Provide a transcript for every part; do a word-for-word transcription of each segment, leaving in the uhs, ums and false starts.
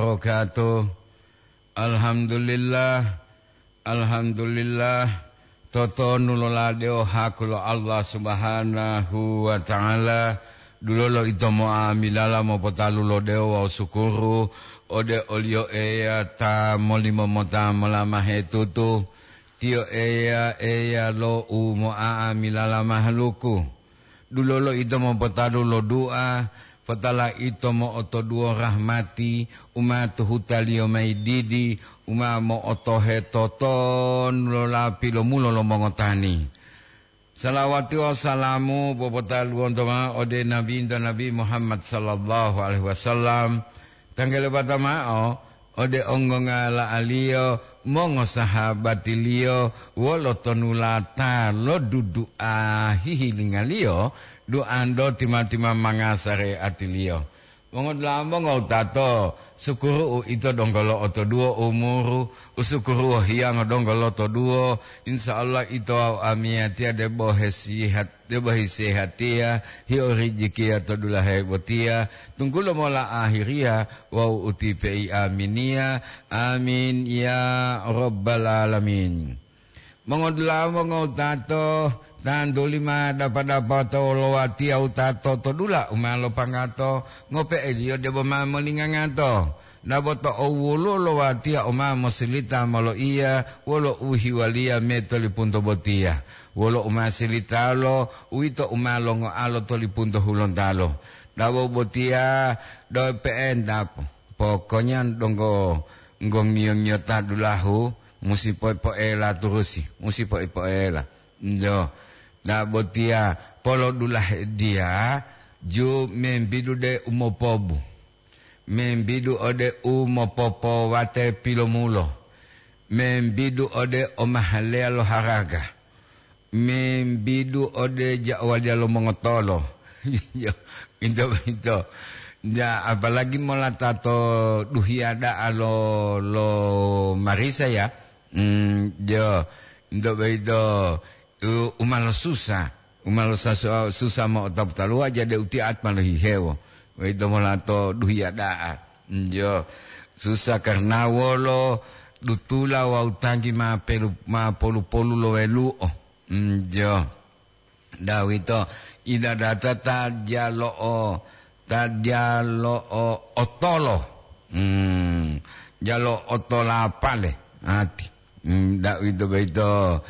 wabarakatuh. Alhamdulillah, alhamdulillah, totonu loladewo haku lo Allah Subhanahu wa Ta'ala, dulolo ito mo'amilala mopotalu lo dewo wawu sukuru ode oliyo Eya ta molimo mota molamahe tutu. Tiyo Eya, Eya lo u mo'a'amilala mahaluku. Dulolo ito mopotadu lo dua, potala ito mo'otoduwo rahmati u ma tuhutaliyo mayi didi, u ma mo'otohe totonu lo lapi lomulo lo mongotani. Salawati wawu salamu popotaluwonto ma'o ode Nabinto Nabi Muhammad sallallahu alaihi wasallam, tanggele bata ma'o ode onggongala'aliyo, mongosahabatiliyo, wolo tonulata lo dudu'a hihilingaliyo, duanto tima-tima manga sareatiliyo. Mongodula'a mongowutato, sukuru'u ito donggo lo'otoduwo umuru, usukuruwo hiyango donggo lotoduwo, insya Allah ito wawu amiyatiya debo hesihat, debo hisehatiya, hio rijikiya to dulahe botiya, tunggulo mola ahiriya wawu utipe'i aminiya. Amin ya rabbal alamin. Mongodula'a mongowutato, tantuli ma dapa-dapa to wolowatiya wutato to dula u ma lopanggato, ngope'eliyo debo ma molingangato. Dabo to owoluwo lo watiya u ma mosilita moloiya wolo u hiwaliya me to lipunto botiya, wolo u ma silitalo, uwito u ma longoalo to lipunto hulontalo. Dabo botiya do pe'enta, pokoknya donggo nggo ngiyo-ngiyota dulahu, musi po-, poela turusi, musi po-, poela. Njo, ta botiya polodulahe diya ju membidu de umopobu, membidu ode umopopowate pilomulo, membidu ode omahaleya lo haraga, membidu ode ja'waliya lo mongotolo. Ito boyito. Ja, apalagi molata to duhiya da'a lo, lo marisa ya. Mm, jo, ito boyito, u-, umalo susa, umalo sasu-, susa mo'otapu taluwa jadi utiat ma lohihewo. Boyito molato duhiya da'a. Mm, jo, susa karna wolo dutula wawu tanggi ma pelu-, ma polu-polu lo welu'o. Mm, jo. Dawito idadata ta jalo'o, ta jalo'o otolo. Hmm, jalo otolapale ati. Hmm, dawito boyito.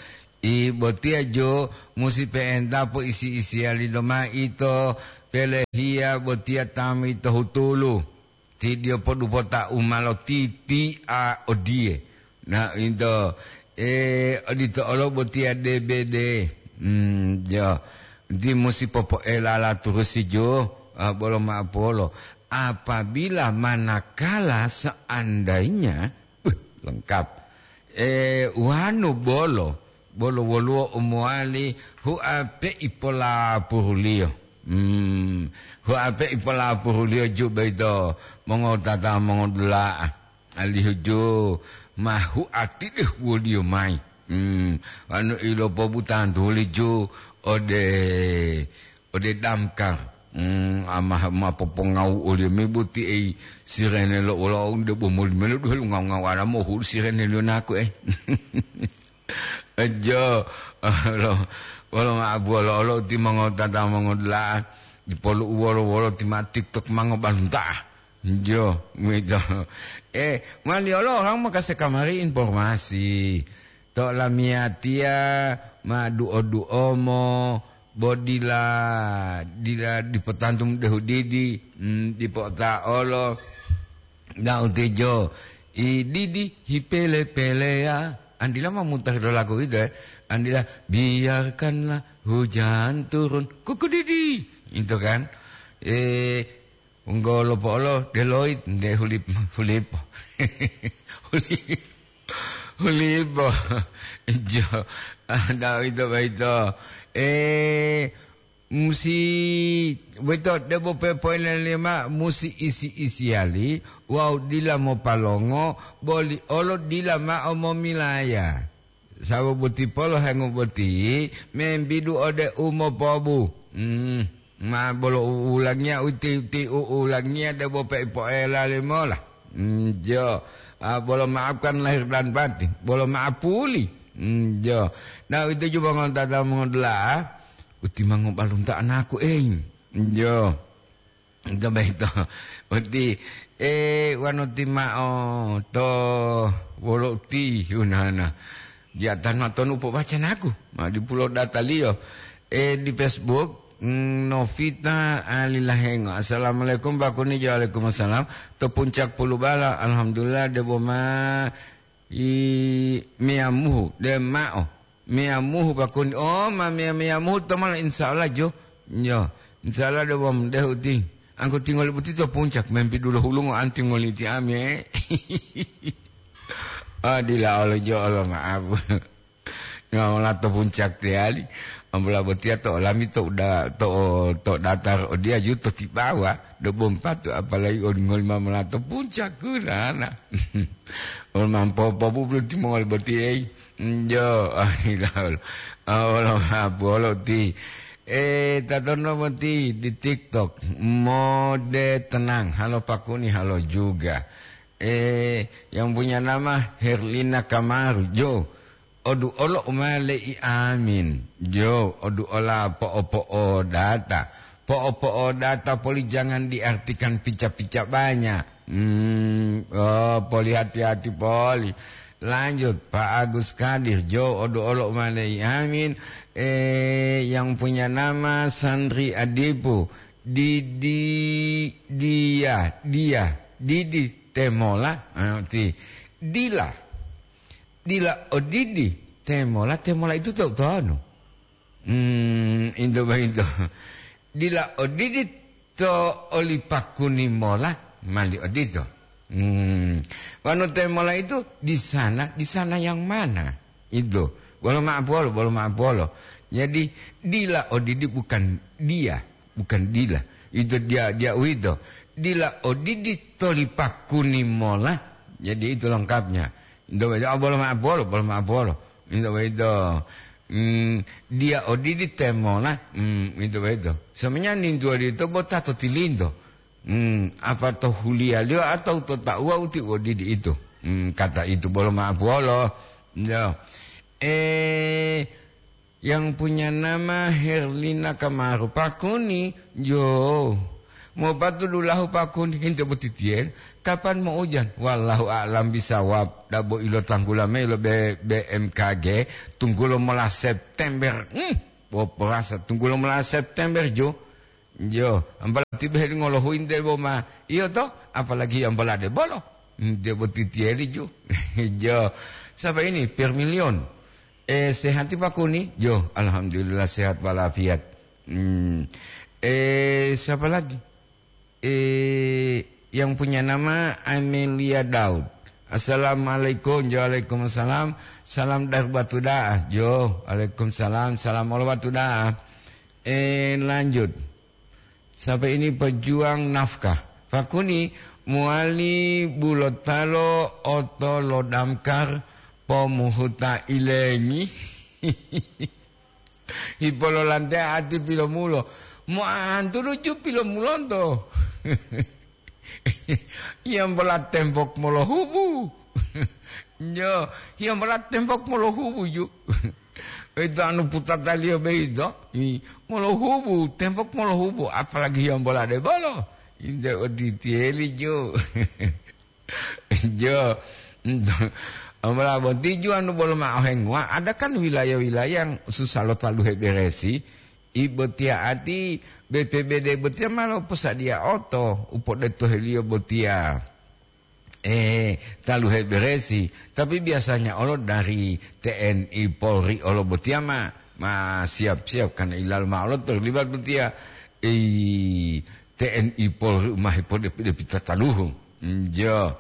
I botiya jo musi pe'enta po isi-isiyali loma ito, pelehiya botiya tami to hutulu. Tidiyo podupota u ma lotiti'a odiye. Na, into, e, odito olo botiya D B D. Hmm, jo. Ti musi popoelala turusi jo, ah, bolo ma'apolo. Apabila manakala seandainya, uh, lengkap. E, wanu bolo, bolo woluwo u mowali huape ipolapuruliyo. Hmm, huape ipolapuruliyo ju boyito mongotata mongodula'a. Alihu ju ma huatide huwoliyo mayi. Hmm, wanu ilopobutantuli ju ode, ode damkar. Hmm, ama ma popongawu oliyo mebuti ei sirene lo ula unde bomoli melo duhe lungawu-ngawala mohudu sirene liyo naku, eh. Ejo, wolo, wolo ma'abuwolo olo timongotata mongodula'a, dipolu uwolo-wolo tima TikTok mangobalunta'a. Jo, mito. Eh, mali olo orang makase kamari informasi. To lamiyatiya ma duo-duomo, bo dila, dila dipotantu dehu didi, mm, dipota olo. Da'u tejo, i didi hipele-peleya. Andila ma mutari do lagu itu, eh. Andila, "Biarkanlah hujan turun." Kuku didi. Itu kan. Eh, unggolo po'olo, Deloit, nde hulip-, hulipo. Huli-, hulipo. Jo, ah, da'u ito boyito. Eh, Musi, boyito debo pepoelelima musi isi-isiyali wawu dila mopalongo, boli olo dila ma'o momilaya. Sababu tipolo hengu boti membidu ode u mopobu. Hmm, ma bolo u ulangiya uti-uti u ulangiya debo peipoela limola. Njo. Ah, bolo maafkan lahir dan batin. Bolo maaf puli. Njo. Nah, itu juga ngonta mongodula'a. Uti mangobalunta anakku, eh. Njo. Ito boyito. Uti, eh, wanu ti ma'o to wolo uti hunana. Di atanu atonu pobaca naku. Ma dipulo dataliyo. Eh, di Facebook, mm, Novita Alilahengo. "Assalamualaikum, Pak Kuni." "Waalaikumsalam." "To Puncak Pulubala, alhamdulillah, debo ma i meyamuhu, de ma'o. Meyamuhu, Pak Kuni." "Oh, ma meya-, meyamuhu to mala, insya Allah, jo." "Yo, insya Allah, debo ma dehu ti. Angku tingoli buti to Puncak, mempi dulo hulungo anti ngoliti ami, eh." "Oh, dila olo jo olo, maaf." Ngola to Puncak teyali, ambola botiya to olami to uda-, to, to datar odiya ju to tibawa, do bompatu, apalagi on ngoli ma mola to Puncak kunana. Ol mampopo bublu timongoli boti, ei. Njo, ah, ilaul. Ah, olo mapolo ti. Eh, tatono boti di TikTok. Mode tenang, halo Pak Kuni, halo juga. Eh, yang punya nama Herlina Kamaru, jo. Odu olo umale'i amin. Jo, odu ola po'o-po'odata. Po'o-po'odata poli jangan diartikan pica-pica banyak. Hmm, oh, poli hati-hati poli. Lanjut, Pak Agus Kadir, jo, odu olo umale'i amin. Eh, yang punya nama Sandri Adipu. Didi, dia, dia, didi temola. Ah, ti, dila. Dila odidi, temola, temola itu to utonu. Hmm, into boyito. Dila odidi to oli Pak Kuni mola, mali odito. Hmm. Wanu temola itu di sana, di sana yang mana? Itu. Bolo ma'apolo, bolo ma'apolo. Jadi, dila odidi bukan dia, bukan dila. Itu dia, dia uwito. Dila odidi toli Pak Kuni mola. Jadi, itu lengkapnya. Into boyito, ah, bolo ma'apolo, bolo ma'apolo. Into boyito, mm, dia odidi temola, mm, into boyito. Sebenarnya nintu odito bo ta to tilinto. Hmm, apa to huliyaliyo atau to tauwa uti odidi itu? Hmm, kata itu bolo ma'apolo. Ya. Eh, yang punya nama Herlina Kamaru, Pak Kuni, jo. Mopatu dulahu Pak Kuni, hinte botitiyen, kapan mo ujan? Wallahu a'lam bisawab, dabo ilo tanggula mayi lo B-, B M K G, tunggulo mola September. Hmm, poporasa, tunggulo mola September, jo. Jo, ambola tibe ngolohu inte bo ma. Iyo to, apalagi ambola de bolo. Hmm, de botitiyen ju. Jo, siapa ini? Permilion. Eh, sehat Pak Kuni? Jo, alhamdulillah sehat walafiat. Hmm. Eh, siapa lagi? Eh, yang punya nama Amelia Daud. Assalamualaikum. Waalaikumsalam. Salam dari Batu Da'a. Jo, waalaikumsalam. Salam olo Batu Da'a. Eh, lanjut. Sampai ini pejuang nafkah. Fakuni muali bulotalo oto lo damkar pomuhuta ilengi. Hipololante ati pilomulo. Mo antuluju pilomulonto. Yambola tembok molohubu. Yo, yambola tembok molohubu ju. Itu anu putataliyo beito. I, molohubu, tembok molohubu, apalagi yambola de bolo. Inte oditiyeli ju. Jo. Amala boti ju anu bolo ma'o henguwa, ada kan wilayah-wilayah yang susah lo taluhe beresi, i botiya ati B P B D botiya ma loposadiya oto u podetoheliyo botiya, eh, taluhe beresi, tapi biasanya olo dari T N I Polri olo botiya ma, ma siap-siap karena ilal ma olo terlibat botiya, eh, T N I Polri u ma hepode-, depita taluhu. Njo.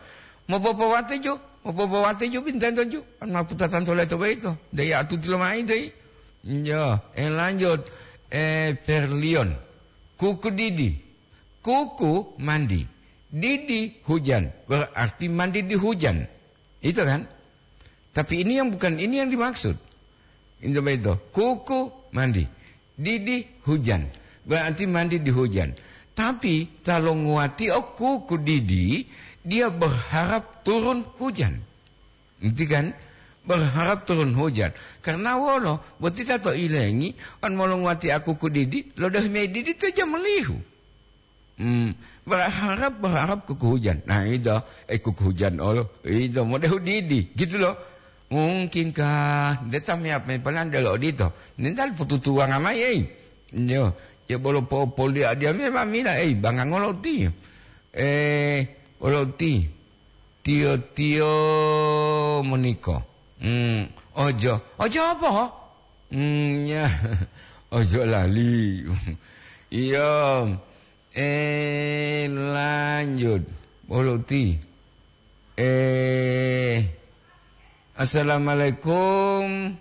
Mopopowate jo, mopopowate jo bintento jo. An maputatanto leto boyito. Daya atuti lomayi dai. Njo. Eh, lanjut. Eh, Perlion. Kuku didi. Kuku mandi. Didi hujan. Berarti mandi di hujan. Itu kan? Tapi ini yang bukan, ini yang dimaksud. Itu begitu. Kuku mandi. Didi hujan. Berarti mandi di hujan. Tapi kalau nguati o kuku didi, Dia berharap turun hujan. Ngerti kan? Berharap turun hujan. Karena wolo, boti ta to ilengi, on molonguwati akuku didi, lodohi mayi didi to jamolihu. Hmm, berharap, berharap kuku hujan. Nah, itu, eh, kuku hujan olo, itu, modehu didi, gitu loh. Mungkinkah, deta miap me palan delo odito. Nintal pututuwanga mayi, eh. Yo, ya bolo po, poli adia memang mila, eh, bangangolo ti. Eh, olo ti. Tiyo-tiyo moniko. Hmm, ojo. Ojo apa? Hmm, ya. Ojo lali. Iya. Eh, lanjut. Bolo ti. Eh, assalamualaikum.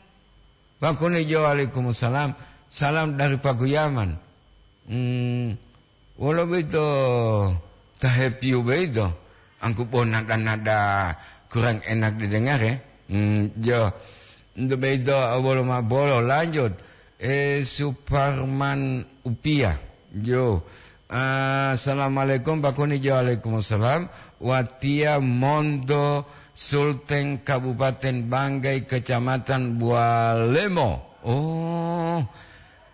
Pakuni jo, "Waalaikumsalam. Salam dari Pakuyaman." Hmm, wolo boyito ta hepiu boyito, angku bo nada-nada kurang enak didengare. Hmm, jo. Nto boyito wolo ma'o bolo, lanjut. Eh, Suparman Upia. Jo. Assalamualaikum, Pakuni jo. Waalaikumsalam. Watiya monto Sulteng Kabupaten Banggai, Kecamatan Bualemo. Oh.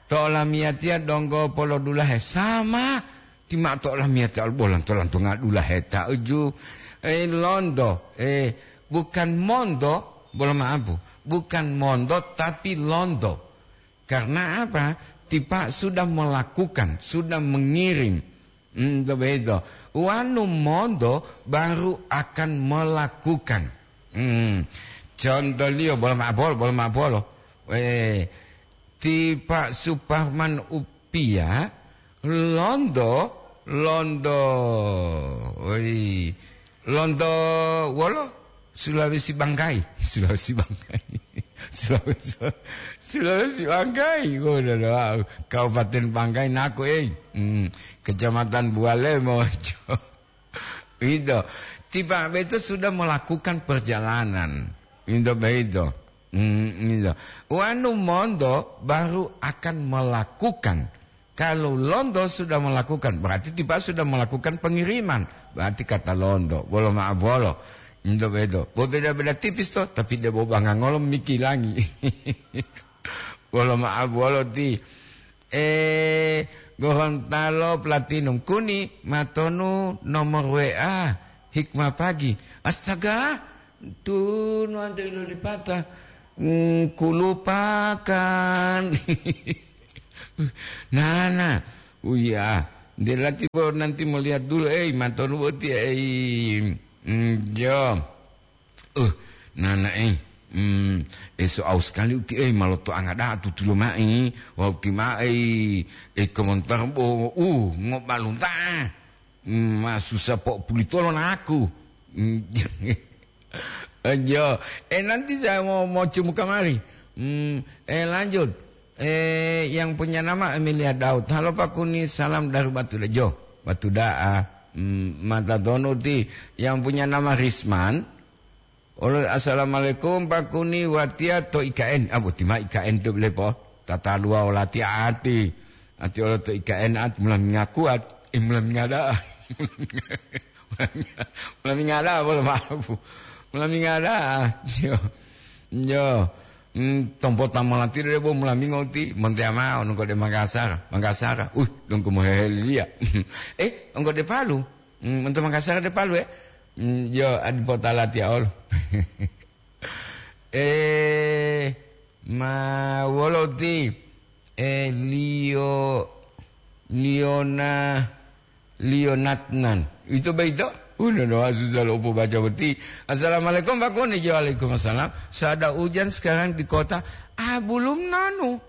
To olamiyatiya donggo polodulahe sama, ti ma'o to olamiyatiya olo bolanto-lantonga dulahe ta uju. Eh, londo, eh, bukan mondo, bolo ma'apu, bukan mondo, tapi londo. Karena apa? Tipa sudah melakukan, sudah mengirim. Hmm, to beto. Wanu mondo baru akan melakukan. Hmm. Contohliyo, bolo ma'o bolo, bolo ma'o bolo. Eh, Ti Pak Suparman Upia, londo, londo, oi, londo wolo Sulawesi Banggai, Sulawesi Banggai, Sulawesi, Sulawesi Banggai, wolo, wolo, Kabupaten Banggai naku, eh, hmm, Kecamatan Buale Mojo. Itu. Tiba itu sudah melakukan perjalanan. Itu begitu. Hmm, itu. Wanu mondo baru akan melakukan. Kalau londo sudah melakukan, berarti tiba sudah melakukan pengiriman. Berarti kata londo, bolo ma'a bolo. Itu begitu. Berbeda-beda tipis toh, tapi dia bawa bangang ngolom mikilangi. Bolo ma'a bolo ti. Eh, Gorontalo Platinum Kuni, matonu nomor W A, Hikmah Pagi. Astaga, tunu ante ilolipata. Hmm, kulupakan. Nana, uya, delati bo nanti melihat dulu, eh, matonu boti, eh, hmm, jo. Uh, nanae, hmm, eso au sekali uti, eh, maloto angada tutulo mai, wau ti mai, eh, komentar bo, uh, ngobalunta, hmm, ma susah po pulitolo naku. Hmm, jo, eh, nanti saya mau, mau cium kamari. Hmm, eh, lanjut. Eh, yang punya nama Emilia Daud. Halo Pak Kuni, salam dari Batu Dajo. Batu Daa. Hmm, mata tonu ti yang punya nama Risman. Olo, "Assalamualaikum, Pak Kuni, watiya to I K N." Ah, boti ma I K N to lepo. Tataluwa olati ati. Ati olo to I K N ati mula mingaku at, eh, mula mingada. Mula mingada, bolo maaf. Mula mingada. Yo. Yo. Hmm, tompo tamolati de bo mula mingo ti, montea mao, nungko de Makassar. Makassar. Uh, nungko moheheliya. Eh, nungko de Palu. Hmm, untuk Makassar de Palu, eh. Hmm, yo, adipota latiya olo. Eh, ma wolo ti, eh, Lio, Liona, Lionatnan. Itu baito? Udah doa susah lo upu baca beti. "Assalamualaikum, Pak Kuni." "Waalaikumsalam. Sada ujan sekarang di kota." Ah, belum nanu.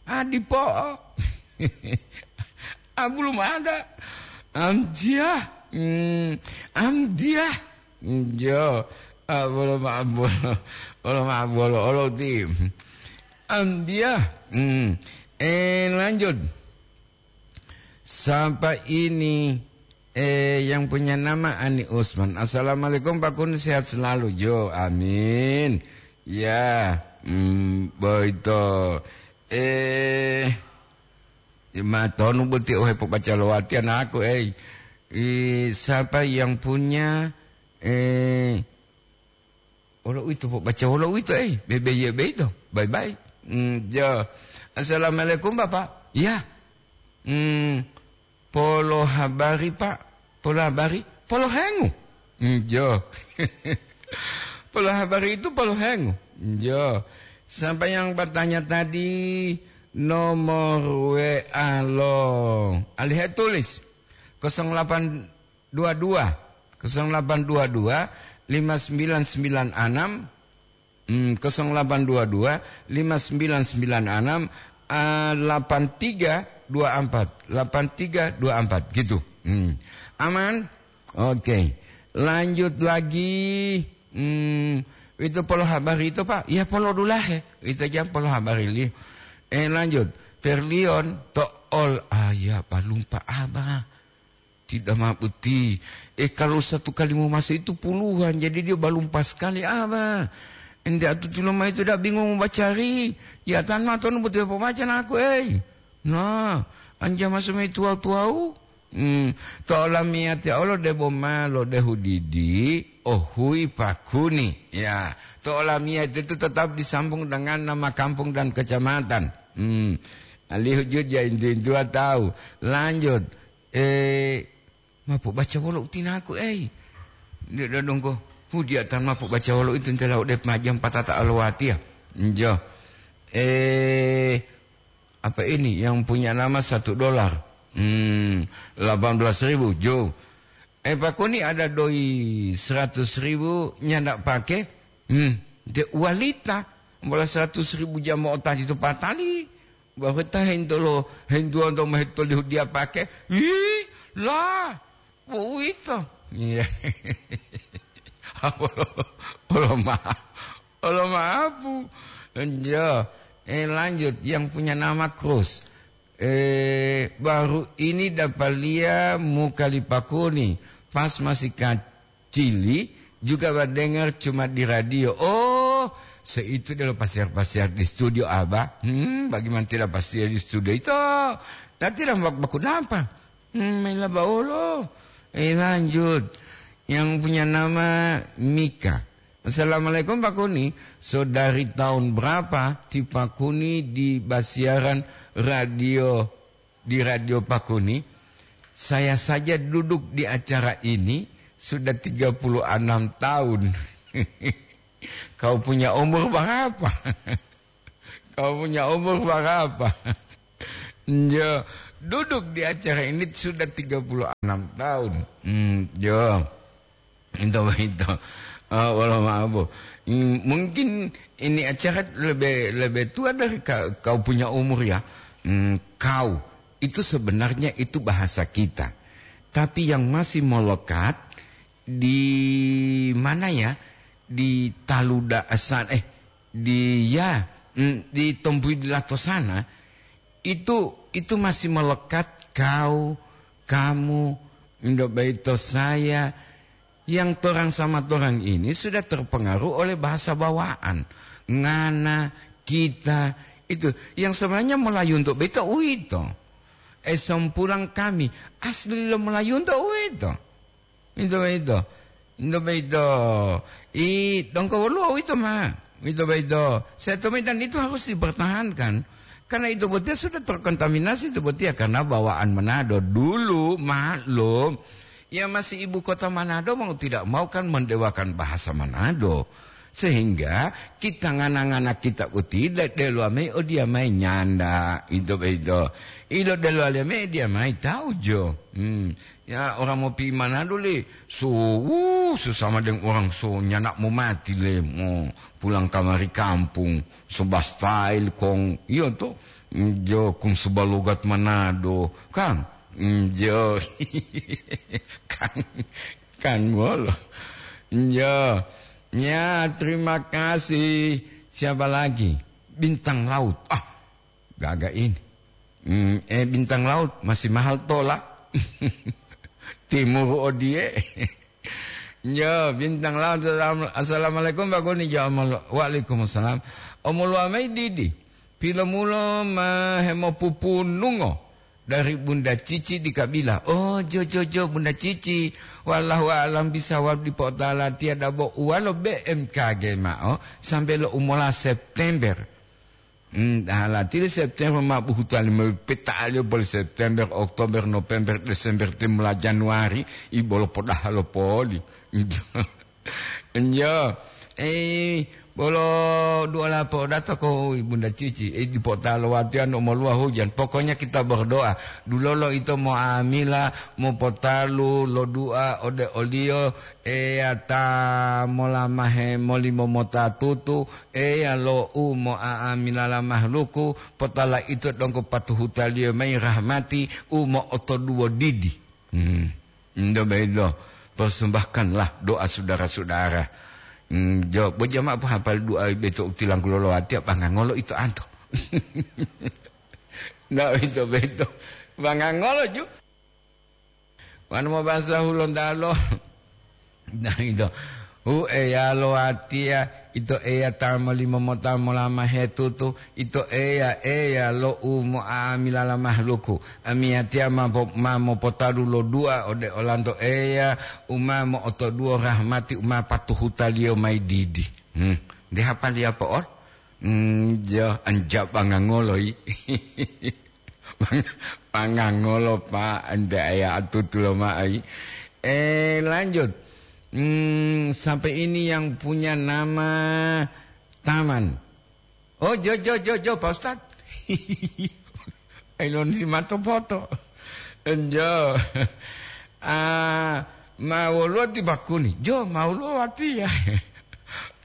Ah, dipo. Ah, belum ada. Amjiah. Hmm, amjiah. Hmm, jo. Ah, bolo maaf, bolo. Bolo maaf, bolo. Olo ti. Amjiah. Hmm. Eh, lanjut. Siapa ini? Eh, yang punya nama Ani Usman. "Assalamualaikum, Pak Kun, sehat selalu." Jo, amin. Ya, hmm, boito. Eh, matonu boti ohe pobaca lowati anakku, eh. Eh, siapa yang punya Eh, wolo uwito, pobaca wolo uwito, eh, bebeye beito. Bye-bye. Hmm, jo. Assalamualaikum, Bapak. Ya. Hmm, polo habari, Pak. Polo habari, polo hengu. Hmm, jo. Polo habari itu polo hengu. Jo. Siapa yang bertanya tadi, nomor W A lo. Alihe tulis. Kosong delapan dua dua, kosong delapan dua dua, lima sembilan sembilan enam, hmm, kosong delapan dua dua, lima sembilan sembilan enam, ah, delapan tiga dua empat, delapan tiga dua empat, gitu. Hmm. Aman? Oke. Lanjut lagi. Hmm, itu polo habari itu, Pak. Ya, polo dulahe. Itu aja polo habari li. Eh, lanjut. Perlion to ol, ah, ya, balumpa, Abah. Tidak ma boti. Eh, kalau satu kali mau masuk itu puluhan, jadi dia balumpa sekali, Abah. Ente atuti lomai itu dah bingung mau bacari. Ya, tan ma tonu betul apa baca naku, eh. Nah, anja masuk mai tuau-tuau. Hmm, to olamiyatiya olo debo ma lodehu didi, ohui pakuni. Ya, to olamiyati itu tetap disambung dengan nama kampung dan kecamatan. Hmm, alihu juja intu-intua tahu. Lanjut. Eh, mapo baca wolo utinaku, ei. Dia dongko. Hudia tan mapo baca wolo itu ntela udah majam patata alwatiya. Njo. Eh, apa ini yang punya nama satu dolar? Hmm, delapan belas ribu, jo. Eh, Pak Koni ada doi seratus ribu nyanda pake? Hmm, de walita. Bola seratus ribu jamo otadi to patali. Bahwa ta hentolo, hentuan to mahetoli hudia pake. Ih, lah, bo uwito. Iya. Olo, olo ma-, olo maapu. Njo. Eh, lanjut. Yang punya nama Cruz. Eh, baru ini dapalia muka li Pakuni. Pas masih kacili, juga badengar cuma di radio. Oh, seitu delo pasiar-pasiar di studio, Abah. Hmm, bagaimana tidak pasiar di studio itu? Tadi lah bak-, baku napa? Hmm, main laba olo. Eh, lanjut. Yang punya nama Mika. "Assalamualaikum, Pak Kuni. So, dari tahun berapa ti Pak Kuni di basiaran radio, di radio Pak Kuni? Saya saja duduk di acara ini sudah tiga puluh enam tahun." Kau punya umur berapa? Kau punya umur berapa? Yo, duduk di acara ini sudah tiga puluh enam tahun. Hmm, yo. Itu, itu. Ah, wala maaf, Bu. Hmm, mungkin ini acara lebih, lebih tua dari ka-, kau punya umur, ya. Hmm, kau. Itu sebenarnya itu bahasa kita. Tapi yang masih melekat di mana, ya? Di taluda-, san-, eh, di, ya, mm, di Tompuidulato sana, itu, itu masih melekat kau, kamu, ndo baito saya, yang torang sama torang ini sudah terpengaruh oleh bahasa bawaan. Ngana, kita, itu. Yang sebenarnya Melayu untuk beta uwito. Eh, sompulang kami, asli lo Melayu untuk uwito. Ito boyito. Ito boyito. I, donggo woluwo uwito ma. Ito boyito. Setomita itu harus dipertahankan. Karena itu botiya sudah terkontaminasi itu botiya karena bawaan Manado. Dulu, maklum, ya masih ibu kota Manado mau tidak mau kan mendewakan bahasa Manado. Sehingga kita ngana-ngana kita uti de-, delowa mayi odiya mayi nyanda, ito boyito. Ilo delowa liya mayi diya mayi taujo. Hmm. Ya, orang mau pi Manado le, so, wuh, susah madeng orang so nyanak mau mati le, mau pulang kamari kampung, so ba style kong, iyo to, mm, jo kung so ba logat Manado, kan? Mm, jo, kan, kan ngolo. Jo, ya, terima kasih. Siapa lagi? Bintang Laut. Ah, gaga ini. Hmm, eh, Bintang Laut masih mahal tola. Timur odie. Yo, Bintang Laut, salam-, assalamualaikum, Pak Goni. Jo, amol-, waalaikumsalam. Omoluwa mayi didi. Pilomulo ma hemopupunungo. dari Bunda Cici di Kabila. Oh, jo, jo, jo, Bunda Cici. Wallahu a'lam bisawab, dipo'otalatiya dabo uwalo B M K G ma'o sambe lo umola September. Hmm, dahalatili September ma buhutuwali mayi peta'aliyo boli September, Oktober, November, Desember, timula Januari, i bolo podaha lo poli. Enjo. Eh, bolo duola po'odato ko Ibunda Cici, eh, dipo'ota lo watiya no moluwa hujan. Pokoknya kita berdoa. Dulolo ito mo'amila, mopotalu lo dua ode oliyo, Eya ta molamahe molimo mota tutu, Eya lo u mo'a'amilala mahaluku, potala ito donggo patuhutaliyo mayi rahmati u mo'otoduwo didi. Hmm. Ndo bedo, persembahkanlah doa saudara-saudara. Hmm, jo, bo jama'a pohapali doa beto u tilanggulo lo watiya, bangangolo ito anto. Nda ito beto, bangangolo ju. Wanu mobasa hulontalo. Nah, ito. Hu Eya lo watiya, ito Eya ta molimo mota molamahe tutu, ito Eya, Eya lo u mo'amilala mahaluku. Amiyatiya ma po-, ma mopotadu lo dua ode olanto Eya, u ma mo'otoduwo rahmati u ma patuhutaliyo mayi didi. Hmm. Nde hapaliya po'ol? Hmm, jo, anja bangangoloi. Pangangolo, Pak, ente aya atutu lo ma'ai. Eh, lanjut. Hmm, sampai ini yang punya nama Taman. Oh, jo, jo, jo, jo, Pak Ustad. Ilon si mato foto. Enjo. Ah, ma woluwo ti bakuni. Jo, ma woluwo watiya.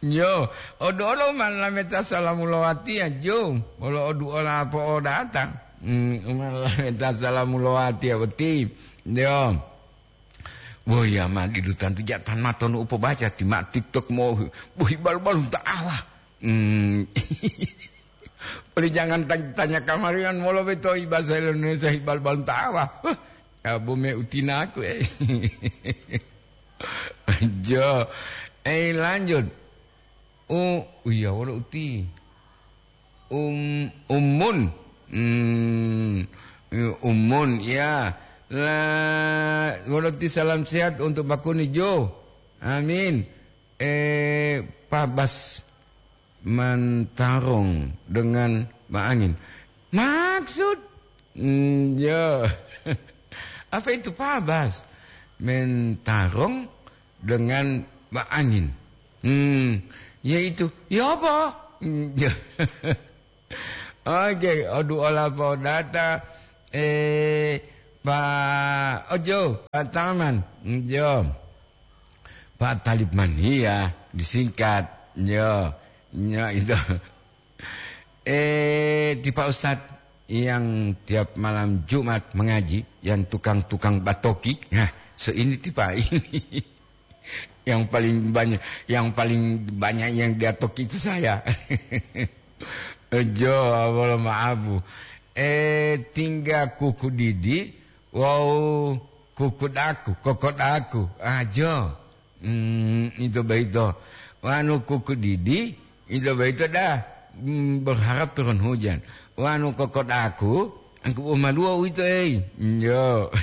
Jo, odu olo ma lameta salamu lo watiya, jo. Wolo odu ola po'odata. Hmm, ma lameta salamu lo watiya boti. Jo. Woya ma didu tantu ja tan matonu upobaca ti ma TikTok mo bohi balu-balu ta awa. Hmm. Oli jangan tan-, tanya kamarian molo beto'i bahasa Indonesia hibal-bal tawa. Huh, ya bome utinaku, eh. Jo, eh, lanjut. U-, iya, wolo uti. Um, umun. Hmm, umun, ya. La, wolo ti salam sehat untuk Bakuni Jo. Amin. Eh, Pabas mentarong dengan Mbak Angin. Maksud? Hmm, ya. Apa itu Pabas? Mentarong dengan Mbak Angin. Hmm, ya itu. Ya apa? Hmm, ya. Oke, odu ola podata. Eh, Pak Ojo, Pak Taman. Hmm, jo. Pak Talib Mania, disingkat. Yo, yo itu. Eh, ti Pak Ustadz yang tiap malam Jumat mengaji, yang tukang-tukang batoki. Nah, so ini tipa ini. Yang paling banyak, yang paling banyak yang dia toki itu saya. Jo, wolo maabu. Eh, tingga kuku didi, Wawu kukudaku, kokodaku, ajo. Hmm, ito boyito. Wanu kukudidi, ito boyito dah, hmm, berharap turun hujan. Wanu kokodaku, angku umaluwo uwito, ei. Yo.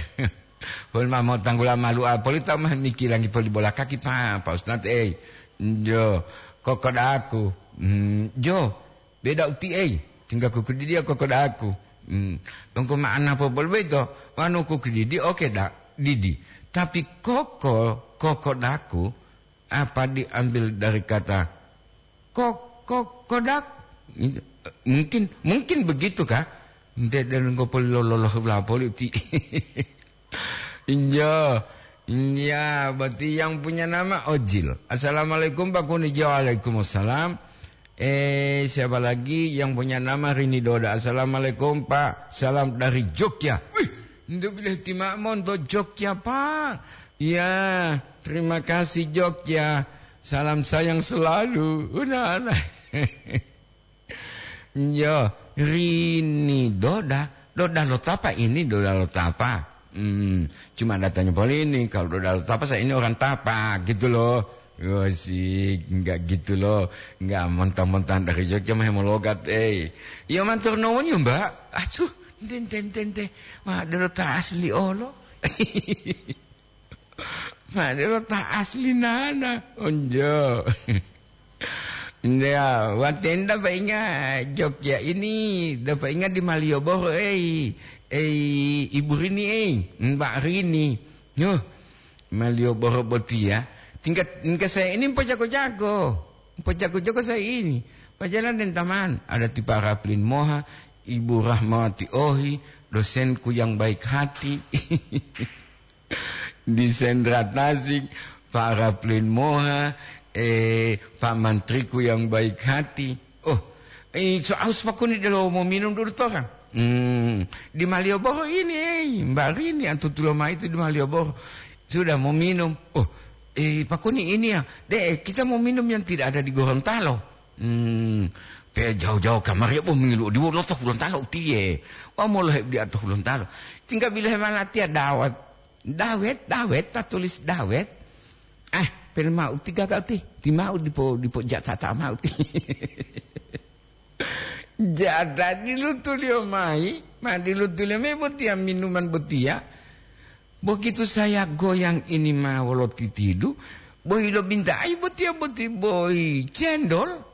Pun ma motanggula malu'a poli ta ma mikirangi poli bola kaki pa, Pak Ustadz, ei. Jo. Kokodaku. Hmm, jo. Beda uti'ei, tingga kukudidiya kokodaku. Hmm, donggo ma'ana popolu boyito, wanu kukudidi oke da, didi. Tapi koko, kokodaku, apa diambil dari kata kok-, kokodak? Mungkin, mungkin begitu kah? Nte donggo poli loloh lapoli uti. Injo. Iya, berarti yang punya nama Ojil. Assalamualaikum, Pak Kunijo. Waalaikumsalam. Eh, siapa lagi yang punya nama Rini Doda? Assalamualaikum, Pak. Salam dari Jogja. Wih, untuk bilih timak monto Jogja, Pak. Ya, terima kasih, Jogja. Salam sayang selalu. Udah, udah. Yo, Rini Doda, Doda lo tapa ini, Doda lo tapa. Hmm, cuma datanya poli ini, kalau Doda lo tapa, saya ini orang tapa, gitu loh. Yo, sih, enggak gitu loh. Enggak mentang-mentang dari Jogja mah mau logat, eh. Yo, matur nuwun ya, Mbak. Aduh, Ente, ente, ente, ente. Ma, delo ta asli olo. Ma, delo ta asli nana. Onjo. Ya, waten dapainga Jogja ini, dapainga di Malioboro, ei, ei, Ibu Rini, ei, Mbak Rini. Yo, Malioboro botiya. Tingkat, tingkat saya ini pojago-jago. Pojago-jago saya ini. Pajalan den taman, ada ti Pak Raplin Moha, Ibu Rahmawati Ohi, dosenku yang baik hati. Di Sentra Tasik, Pak Raplin Moha, eh, Pak Mantriku yang baik hati. Oh, eh, so aus pakuni delo mau minum dulu torang. Hmm, di Malioboro ini, eh, Mbak Rini, antutulo mai itu di Malioboro. Sudah mau minum. Oh, eh, pakuni ini ya. Dek, kita mau minum yang tidak ada di Gorontalo. Hmm, pe jauh-jauh kamari bo mengilu diwolo to Gorontalo utiye. Wa molo he di ato Gorontalo. Tinggal bila he malatiya dawat. Dawet, dawet, ta tulis dawet. Ah, pen mau ti gagal ti. Ti mau dipo, dipo jatata mau ti. Jatati lutuliyo mai, ma dilutuliyo mai botiya minuman botiya. Begitu saya goyang ini ma wolo titidu, bohi lo bintai botiya boti bohi cendol.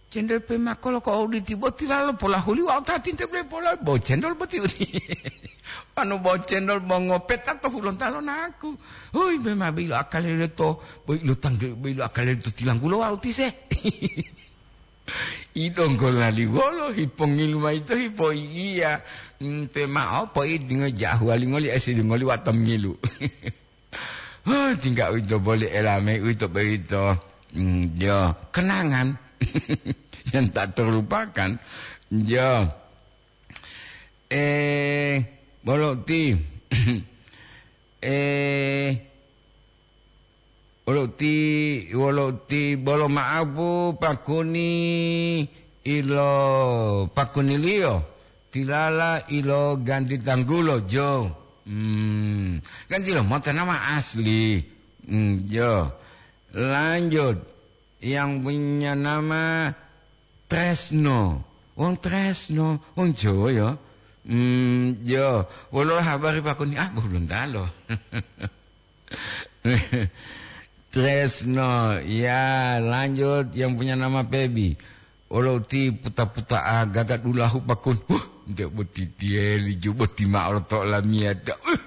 Cendol pe makolo ko auditi boti lalo polahuli wau ta tinte bele pola bo cendol boti uni. Anu bo cendol bo ngopeta to hulontalo naku. Hui, memang bilo akale to, bo ilo tangge, bo ilo akale to tilanggulo wau tise. Idonggo lali wolo, hipongilu mayi to hipoi'iya. Mm, pe ma'o poidingo jahu walingoli, esidingoli wato ngilu. Huh, tingga uwito boli elame uwito boyito. Mm, jo, kenangan yang tak terlupakan. Jo. Eh, bolo ti. Eh, Wolo uti, wolo uti bolo ma'apu pakuni ilo pakuniliyo, tilala ilo ganti tanggulo, jo. Hmm, ganti lo mota nama asli. Hmm, jo. Lanjut, yang punya nama Tresno. Wong Tresno, wong Jawa ya. Hmm, jo. Wolo habari pakuni, ah, Gorontalo. Tresno, ya, lanjut yang punya nama Pebi. Wolo uti puta-puta agaga dulahu pakun. Huh, nte boti tieli ju boti ma'o lo to lamiyata. Uh,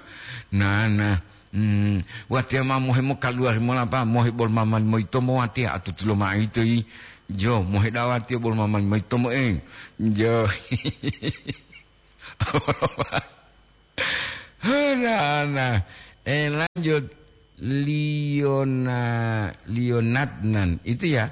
nana. Hmm, watiya ma mohe mo kaluwari mola pa, mohe bol maman moyito mo watiya atutulo ma'o yito yi. Jo, mohe dawatiya bol maman moyito mo, eh. Jo. Nah, nah. Eh, lanjut. Liona-, Lionatnan. Itu ya.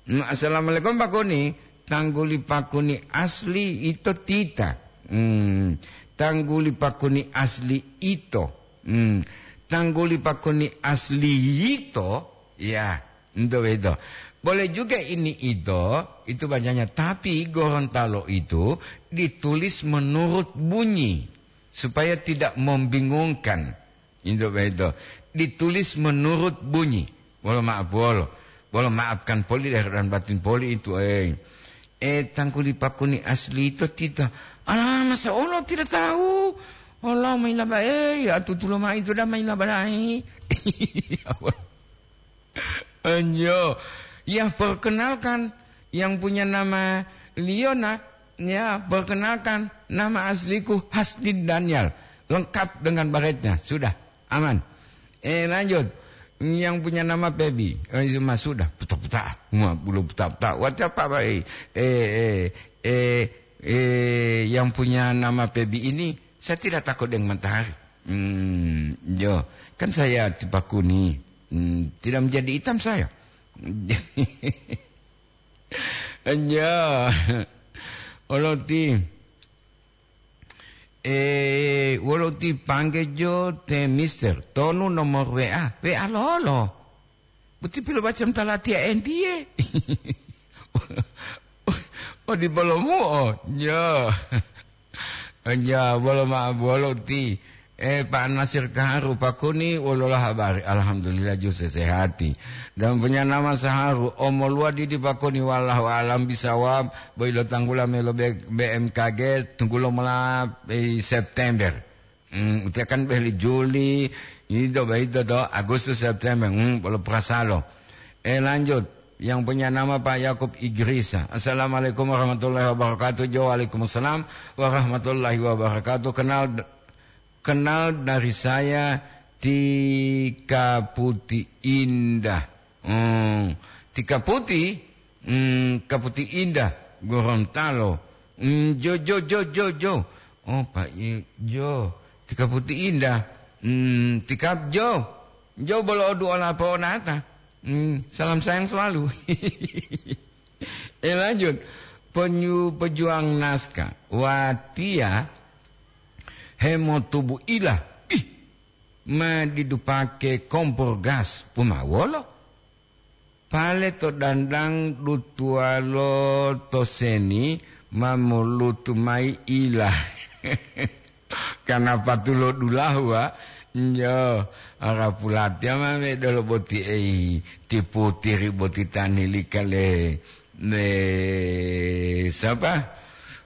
Hmm, assalamualaikum, Pak Kuni. Tangguli Pak Kuni asli ito tita. Hmm. Tangguli Pak Kuni asli ito. Hmm. Tangguli Pak Kuni asli ito. Ya. Ento boyito. Boleh juga ini ito, itu bacanya. Tapi Gorontalo itu ditulis menurut bunyi, supaya tidak membingungkan. Ento boyito. Ditulis menurut bunyi. Bolo maaf, bolo. Bolo maafkan poli deh dan batin poli itu, eh. Eh, tangguli Pak Kuni asli itu tidak. Alah, masa Allah tidak tahu? Allah mailaba, eh, ya tutulo ma itu dah mailaba dai. Anjo. Ya, perkenalkan yang punya nama Liona. Ya, perkenalkan nama asliku Hasdin Daniel. Lengkap dengan baretnya. Sudah. Aman. Eh, lanjut. Yang punya nama Pebi. Eh, itu mah sudah. Puta-puta. Wah, bulu puta-puta. Watiya apa, Pak? Eh, eh, eh, eh, eh, yang punya nama Pebi ini, saya tidak takut dengan matahari. Hmm, jo. Kan saya tipakuni. Hmm, tidak menjadi hitam saya. Ya. Wolo uti. Eh, wolo uti pangge jo te mister. Tonu nomor W A. W A lolo. Buti pilo macam talatiya entiye. Oh, di bolomu, oh. Ya. Ya, bolo ma-, bolo uti. Eh, Pak Nasir Kaharu Pakuni, wolola habari? Alhamdulillah, ju sesehati. Dan punya nama Saharu, omoluwa didi Pakuni, wallahu alam bisawab, boilo tanggula melo B-, B M K G, tunggulo mola, eh, September. Hmm, utia kan beli Juli, itu, itu do, Agustus, September, hmm, bolo perasalo. Eh, lanjut. Yang punya nama Pak Yakub Idrisa. Assalamualaikum warahmatullahi wabarakatuh. Jo, waalaikumsalam warahmatullahi wabarakatuh. Kenal, kenal dari saya Tika Putih Indah. Hmm, Tika Putih, hmm, Kaputi Indah, Gorontalo. Hmm, jo, jo, jo, jo, jo. Oh, Pak, i-, jo. Tika Putih Indah. Hmm, Tika jo. Jo bolo odu ola po onata. Hmm, salam sayang selalu. Eh, lanjut. Penyu-, pejuang naskah. Watia hemotubu ilah. Ih, ma didu pake kompor gas. Pumawolo? Pale to dandang dutuwalo to seni ma molutu mayi ila. Karena patulo dulahu, wa. Njo, ara pulatiya ma medolo boti ei, tiputiri boti tanilika le, le, sapa?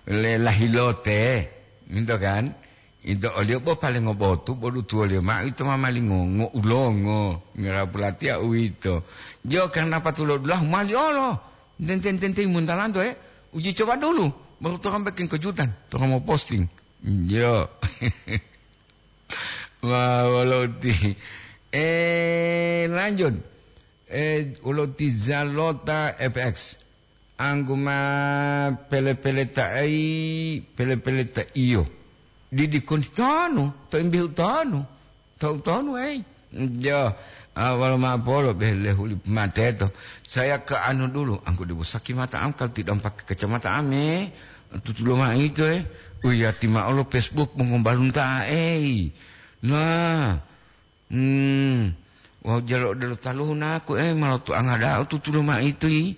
Le lahilote. Minto kan? Ito oliyo bo paling ngobotu, bo dutuwoliyo mao ito ma mali ngo-, ngoulongo, ngara pulatiya uwito. Jo, karena patulo dulahu mali olo. Tenten-tenten muntalanto, eh. Uji coba dulu, baru torang bikin kejutan, torang mau posting. Jo. Wah, wolo uti. Eh, lanjut. Eh, wolo uti Zalota F X. Anggu ma pele-peleta ei, pele-peleta iyo. Didi koni tonu, to imbihu tonu, to tonu ei. Jo, awal ma polo bele huli mateto. Saya ke anu dulu, anggu dibusaki mata am kalau tidak pakai kacamata am, eh. Tutulo ma itu, eh. Uya tima olo Facebook mongombalunta ei. Nah, Hmm. Wawu jalo odelo taluhu naku, eh, ma lotuanga da'a tutulo maitu yi.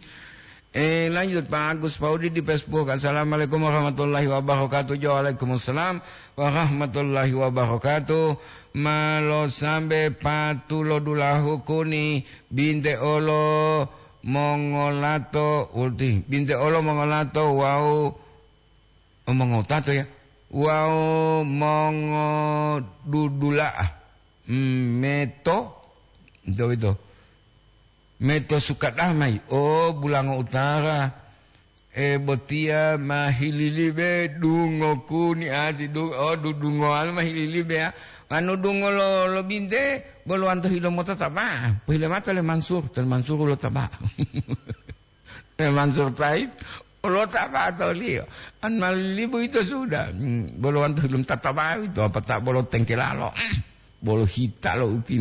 Eh, lanjut, Pak Agus Paudi di Facebook. Assalamualaikum warahmatullahi wabarakatuh. Jo, waalaikumsalam warahmatullahi wabarakatuh. Ma losambe patulo dulahu kuni, binte olo mongolato, ulti, binte olo mongolato wawu O mongotato ya, wawu mongodudula'a, hmm, meto, ito, ito, meto Sukadamai, o Bulango Utara, e, botiya ma hililibe dungo kuni ati du-, o dudungowalu ma hililibe ya. Anu dungo lo, lo binte, bolo wanto hilo mota taba, pohile mata le Mansur, tan Mansur lo taba. Eh, Mansur Said, lo taba toliyo. An malibu ito sudah. Hmm, bolo wanto hilum tatabawi to, apa tak bolo tengkelalo. Bolo hita lo uti